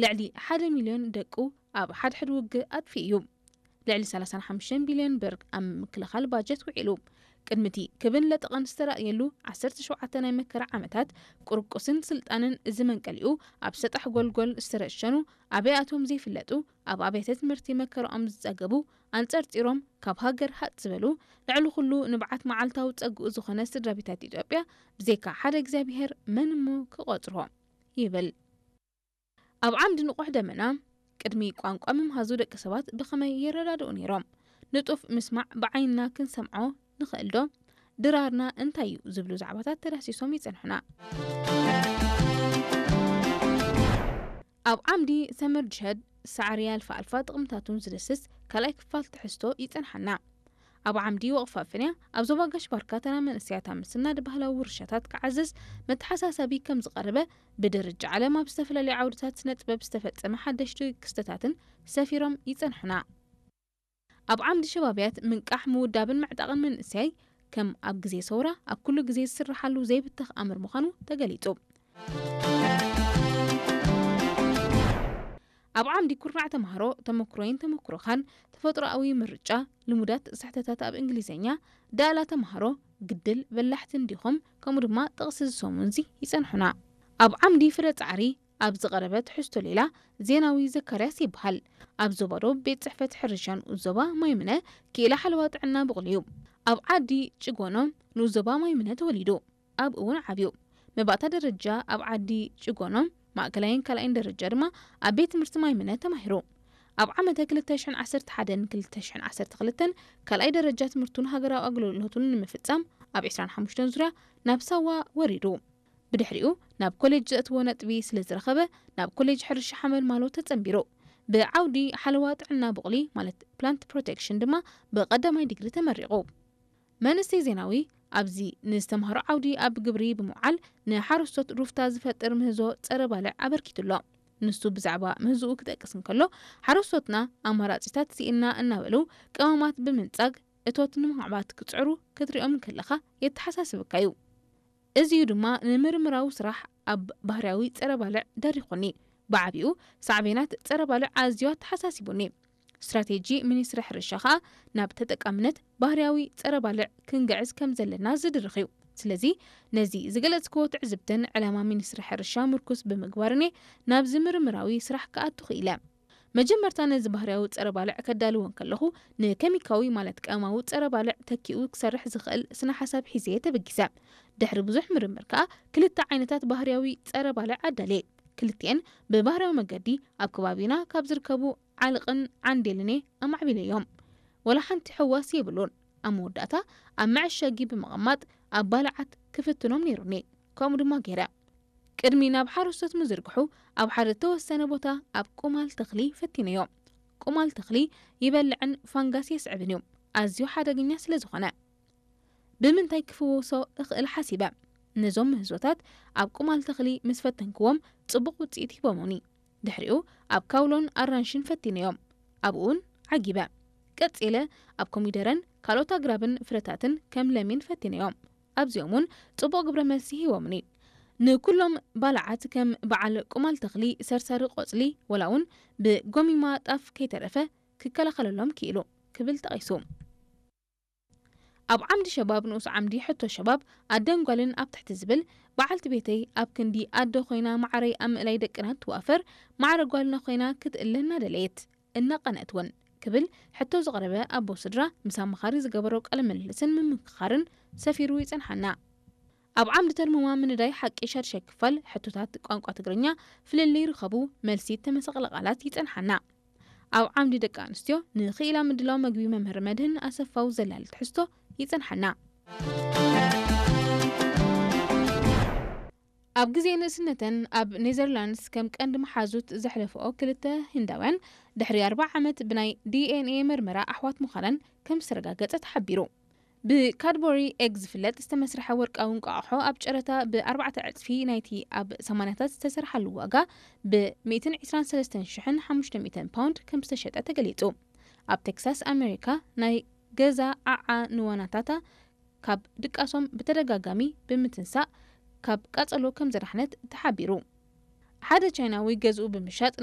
ልዕሊ ሓደ ሚልዮን ደቁ ኣብ ሓድሕድ ውግእ ኣጥፊኡ እዩ። ልዕሊ ሰላሳን ሓሙሽተን ቢልዮን ብር ኣብ ምክልኻል ባጀት ውዒሉ። ቅድሚቲ ክብን ለጠቐን ዝተራእየሉ ዓሰርተ ሸውዓተ ናይ መከራ ዓመታት፣ ቁርቁስን ስልጣንን እዚ መንቀሊኡ ኣብ ሰጣሕ ጎልጎል ዝተረሸኑ፣ ኣበይ ኣቶም ዘይፍለጡ፣ ኣብ ኣብያተ ትምህርቲ መከራኦም ዝጸገቡ፣ ኣንጸርጺሮም ካብ ሃገር ሃጥ ዝበሉ፣ ልዕሊ ኩሉ ንብዓት መዓልታዊ ጸግኡ ዝኾነ ስድራ ቤታት ኢትዮጵያ፣ ብዘይካ ሓደ እግዚኣብሔር መን እሞ ክቖጽሮ? ይብል። ኣብ ዓምዲ ንቑሕ ደመና፣ ቅድሚ ቋንቋ ምምሃዙ ደቂ ሰባት ብኸመይ ይረዳድኡ ነይሮም? ንጡፍ ምስማዕ ብዓይንና ክንሰምዖ ንኽእል ዶ? ድራርና እንታይ እዩ? ዝብሉ ዛዕባታት ተዳሲሶም ይጸንሑና። ኣብ ዓምዲ ሰመር ጅሀድ፣ ሳዕሪ ኣልፋ ኣልፋ ጥቕምታቱን ዝድስስ ካልኣይ ክፋል ትሕዝቶ ይጸንሓና። ኣብ ዓምዲ ወቕፋ ፍንያ፣ ኣብ ዞባ ጋሽ ባርካ ተራ መንእሰያት ኣብ ምስናድ ባህላዊ ውርሻታት ክዓዝዝ መተሓሳሰቢ ከም ዝቐረበ፣ ብደረጃ ዓለም ኣብ ዝተፈላለዩ ዓውድታት ስነ ጥበብ ዝተፈጸመ ሓደሽቲ ክስተታትን ሰፊሮም ይጸንሑና። ኣብ ዓምዲ ሸባብያት ምንቃሕ፣ ምውዳብን ምዕጣቕን መንእሰያይ፣ ከም ኣብ ግዜ ሰውራ ኣብ ኩሉ ግዜ ዝስርሓሉ ዘይብተኽ ኣምር ምዃኑ ተገሊጹ። ኣብ ዓምዲ ኩርናዕ ተምሃሮ፣ ተመክሮይን ተመክሮኻን፣ ተፈጥሮኣዊ ምርጫ፣ ልሙዳት ስሕተታት ኣብ እንግሊዝኛ፣ ዳእላ ተምሃሮ፣ ግድል በላሕቲ እንዲኹም፣ ከምኡ ድማ ጥቕሲ ዝሰሙንዚ ይጸንሑና። ኣብ ዓምዲ ፍረ ጻዕሪ፣ ኣብ ዝቐረበ ትሕዝቶ ሌላ ዜናዊ ዘካርያስ ይበሃል። ኣብ ዞባ ዶብ ቤት ጽሕፈት ሕርሻ ንኡስ ዞባ ማይምነ ክኢላ ሓለዋ ጥዕና ብቑል እዩ። ኣብ ዓዲ ጭጎኖ ንኡስ ዞባ ማይምነ ተወሊዱ። ኣብ እውን ዓብዩ። መባእታ ደረጃ ኣብ ዓዲ ጭጎኖ፣ ማእከላይን ካልኣይን ደረጃ ድማ ኣብ ቤት ትምህርቲ ማይምነ ተማሂሩ። ኣብ ዓመተ ክልተ ሽሕን ዓሰርተ ሓደን ክልተ ሽሕን ዓሰርተ ክልተን ካልኣይ ደረጃ ትምህርቱን ሃገራዊ ኣገልግሎቱን ንምፍጻም ኣብ ዕስራን ሓሙሽተን ዙርያ ናብ ሳዋ ወሪዱ። ብድሕሪኡ ናብ ኮሌጅ ዘእትዎ ነጥቢ ስለ ዝረኸበ ናብ ኮሌጅ ሕርሻ ሓመልማሎ ተጸንቢሩ። ብዓውዲ ሓለዋ ጥዕና ቡቕሊ ማለት ፕላንት ፕሮቴክሽን ድማ ብቐዳማይ ዲግሪ ተመሪቑ። መንእሰይ ዜናዊ ኣብዚ ንዝተምሃሮ ዓውዲ ኣብ ግብሪ ብምውዓል ንሓረስቶት ሩፍታ ዝፈጥር ምህዞ ጸረ ባልዕ ኣበርኪቱ ኣሎ። ንሱ ብዛዕባ ምህዝኡ ክጠቅስ እንከሎ፣ ሓረስቶትና ኣማራጺታት ስኢንና እናበሉ ቀመማት ብምንጻግ እቶት ንምዕባት ክጽዕሩ ክትሪኦም እንከለኻ የተሓሳስበካ እዩ። እዚዩ ድማ ንምርምራዊ ስራሕ ኣብ ባህርያዊ ጸረ ባልዕ ደሪኹኒ። ብዓቢኡ ሳዕቤናት ጸረ ባልዕ ኣዝዩ ኣተሓሳሲቡኒ። ስትራቴጂ ሚኒስትሪ ሕርሻ ከኣ ናብ ተጠቃምነት ባህርያዊ ጸረ ባልዕ ክንግዕዝ ከም ዘለና ዝድርኽ እዩ። ስለዚ ነዚ ዝገለጽክዎ ትዕዝብትን ዕላማ ሚኒስትሪ ሕርሻ ምርኩስ ብምግባርን እየ ናብዚ ምርምራዊ ስራሕ ክኣቱ ክኢለ። መጀመርታ ነዚ ባህርያዊ ጸረ ባልዕ ከዳልዎ እንከለኹ ንከሚካዊ ማለት ቀመማዊ ጸረ ባልዕ ተኪኡ ክሰርሕ ዝኽእል ስነ ሓሳብ ሒዘ እየ ተበጊሰ። ድሕሪ ብዙሕ ምርምር ከኣ ክልተ ዓይነታት ባህርያዊ ጸረ ባልዕ ኣዳልየ። ክልቲኤን ብባህርያዊ መገዲ ኣብ ከባቢና ካብ ዝርከቡ ዓልቕን ዓንዴልን እየ ኣማዕቢለዮም። ወላ ሓንቲ ሕዋስ የብሉን። ኣብ መወዳእታ ኣብ መዐሸጊ ብምቕማጥ ኣብ ባልዓት ክፍትኖም ነይሩኒ። ከምኡ ድማ ገይረ። ቅድሚ ናብ ሓረስቶት ምዝርግሑ ኣብ ሓደ ተወሰነ ቦታ ኣብ ቁማል ተኽሊ ፈቲነዮ። ቁማል ተኽሊ ይበልዕን ፋንጋስ የስዕብን እዩ፣ ኣዝዩ ሓደገኛ ስለ ዝኾነ። ብምንታይ ክፍወሶ እኽእል ሓሲበ። ነዞም ምህዞታት ኣብ ቁማል ተኽሊ ምስ ፈተንክዎም ጽቡቕ ውጽኢት ሂቦሙኒ። ድሕሪኡ ኣብ ካውሎን ኣራንሽን ፈቲነዮም። ኣብኡውን ዓጊበ። ቀጺለ ኣብ ኮሚደረን ካልኦት ኣግራብን ፍረታትን ከም ለሚን ፈቲነዮም። ኣብዚኦም እውን ጽቡቕ ግብረ መልሲ ሂቦምኒ። ንኩሎም ባልዓት ከም በዓል ቁማል ተኽሊ ሰርሳሪ ቆጽሊ ወላ እውን ብጎሚማ ጣፍ ከይተረፈ ክከላኸለሎም ክኢሉ ክብል ጠቒሱ። ኣብ ዓምዲ ሸባብ ንኡስ ዓምዲ ሕቶ ሸባብ ኣደን ጓልን ኣብ ትሕቲ ዝብል በዓልቲ ቤተይ ኣብ ክንዲ ኣደ ኮይና ማዕረይ ኣብ ምእላይ ደቅና ትዋፈር ማዕረ ጓልና ኮይና ክትእለ እናደለየት እናቐንአት እውን ክብል ሕቶ ዝቐረበ ኣቦ ስድራ ምስ ኣማኻሪ ዝገበሮ ቃለ ምልልስን ምምክኻርን ሰፊሩ ይጸንሓና። ኣብ ዓምዲ ተርሙማ ምንዳይ ሓቂ ሻድሻይ ክፋል ሕቶታት ቋንቋ ትግርኛ ፍልልይ ርኸቡ መልሲ ተመሳቕለ ቃላት ይጸንሓና። ኣብ ዓምዲ ደቂ ኣንስትዮ ንኽኢላ ምድላው መግቢ መምህር መድህን ኣሰፋው ዘላሊ ትሕዝቶ ይጸንሓና። ኣብ ግዜ ንእስነተን ኣብ ኔዘርላንድስ ከም ቀንዲ መሓዙት ዘሕለፈኦ ክልተ ህንዳውያን ድሕሪ ኣርብዓ ዓመት ብናይ ዲ ኤን ኤ መርመራ ኣሕዋት ምዃነን ከም ዝተረጋገጸ ተሓቢሩ። ብካድቦሪ ኤግ ዝፍለጥ ዝተመስርሐ ወርቃዊ እንቋቑሖ ኣብ ጨረታ ብኣርባዕተ ዕጽፊ ናይቲ ኣብ ሰማንያታት ዝተሰርሓሉ ዋጋ ብ ሚእትን ዕስራን ሰለስተን ሽሕን ሓሙሽተ ሚእትን ፓውንድ ከም ዝተሸጠ ተገሊጹ። ኣብ ቴክሳስ ኣሜሪካ ናይ ገዛ ዓዓ ንዋናታታ ካብ ድቃሶም ብተደጋጋሚ ብምትንሳእ ካብ ቃጸሎ ከም ዘዳሕነት ተሓቢሩ። ሓደ ቻይናዊ ገዝኡ ብምሻጥ